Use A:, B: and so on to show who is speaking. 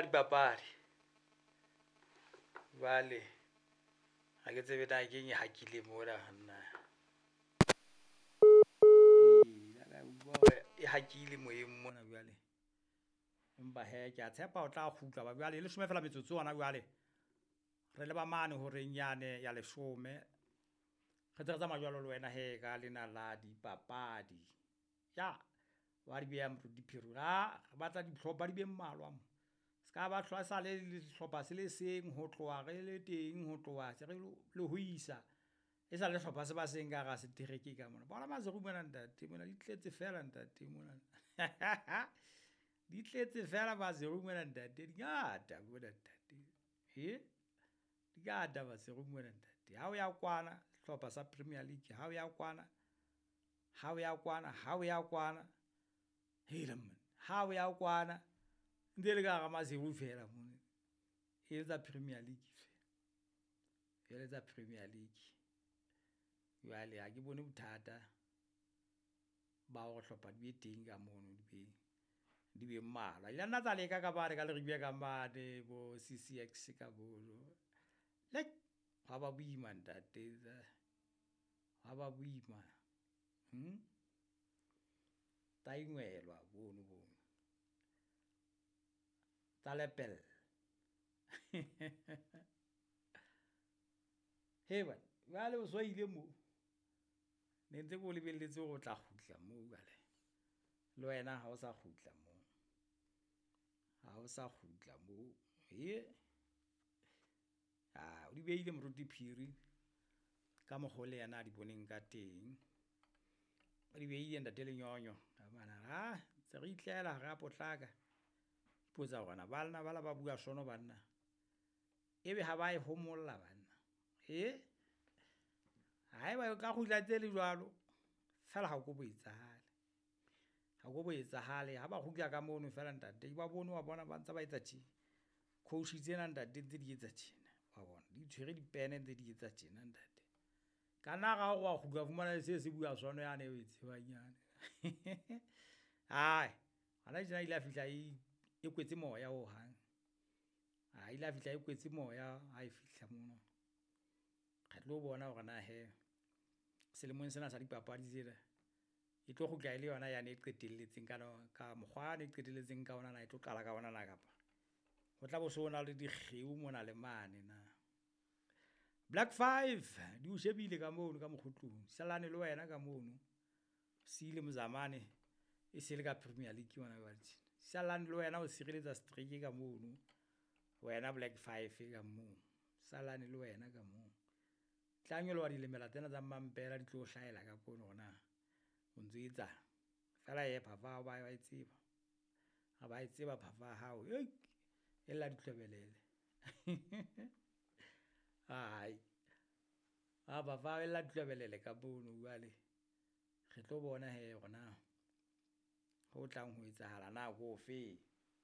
A: Dipapadi jwale ha ke tsebe na keng e hakile mona banna. E hakile moyeng mona jwale, empa hee kea tshepa o tla kgutla hoba jwale e leshome fela metsotso hona jwale. Re leba mane horeng yane ya leshome, re ntse re tsamaya jwalo le wena hee ka lena la dipapadi. Yah wa di beha Moruti Phiri re batla dihlopha di be mmalwa mo, ska ba sale le sehlopha se le seng ho tloha re le teng ho tloha se re le ho isa. E sa le hlopha se ba seng ka hara setereke ka mona. Bona Maseru mona ntate mona di tletse feela ntate mona. Di tletse feela Maseru mona ntate di ngata mona ntate , di ngata Maseru mona ntate. Ha o ya kwana sehlopha sa Premier League, ha o ya kwana, ha o ya kwana, ha o ya kwana, hela monna ha o ya kwana ntse le ka hara Maseru feela mono. E le tsa Premier League feela, e le tsa Premier League. Jwale ha ke bone bothata ba hore hlopha di be teng ka mono di be, di be mmalwa. Di la nna tsa leka ka mane ka Leribe ka mane bo CCX ka mono, hwa ba boima ntate hwa ba boima . Tsa ingwelwa mono bo, tsa lepella. Hee banna jwale o so ile moo, ne ntse ke o lebelletse hore o tla kgutla moo jwale le wena ha o sa kgutla moo, ha o sa kgutla moo . O di behile Moruti Phiri ka mokgo le yena a di boneng ka teng. O di behile ntate Lenyonyo ntse re itlela ha ra potlaka. Ipotsa hore na banna ba na ba bua sono banna, ebe ha ba e homolla banna ? Haeba o ka kgutla ntse le jwalo feela ha ko bo etsahale, ha ko bo etsahale ha ba kgutla ka mono feela ntate ke ba bone wa bona ba ntse ba etsa tje. Coach tsena ntate ntse di etsa tjena wa bona, di tshwere dipene ntse di etsa tjena ntate. Ka nna ra re wa kgutla wa fumana se se bua sono yane eo oe tsebang yane. Hona tjena ile ya fihla e kwetse moya hohang, ile ya fihla e kwetse moya ha e fihla mono. Re tlo bona hore na hee selemong sena sa dipapadi tsena e tlo kgutla e le yona yane e qetelletseng ka ka mokgwa wane e qetelletseng ka ona na e tlo qala ka ona na kapa ho tla bo so na le dikgeo mona le mane na. Black five di o shebile ka mono ka mokgo tlung, sallane le wena ka mono, siile Mozamane e se le ka Premier League hona jwale tjena. Salane le wena ho sireletsa streak ka mono wena Black five ka moo, salane le wena ka moo. Tla nyoloha dilemela tsena tsa mmampela di tlo hlahela ka kwano hore na o ntso etsang. Feela hee phafa ya hao ba e tseba, ba e tseba phafa ya hao e lla ditlwebelele. Phafa ya hao e lla ditlwebelele ka mono jwale re tlo bona hee hore na ho tlang ho etsahala na ke ofeng.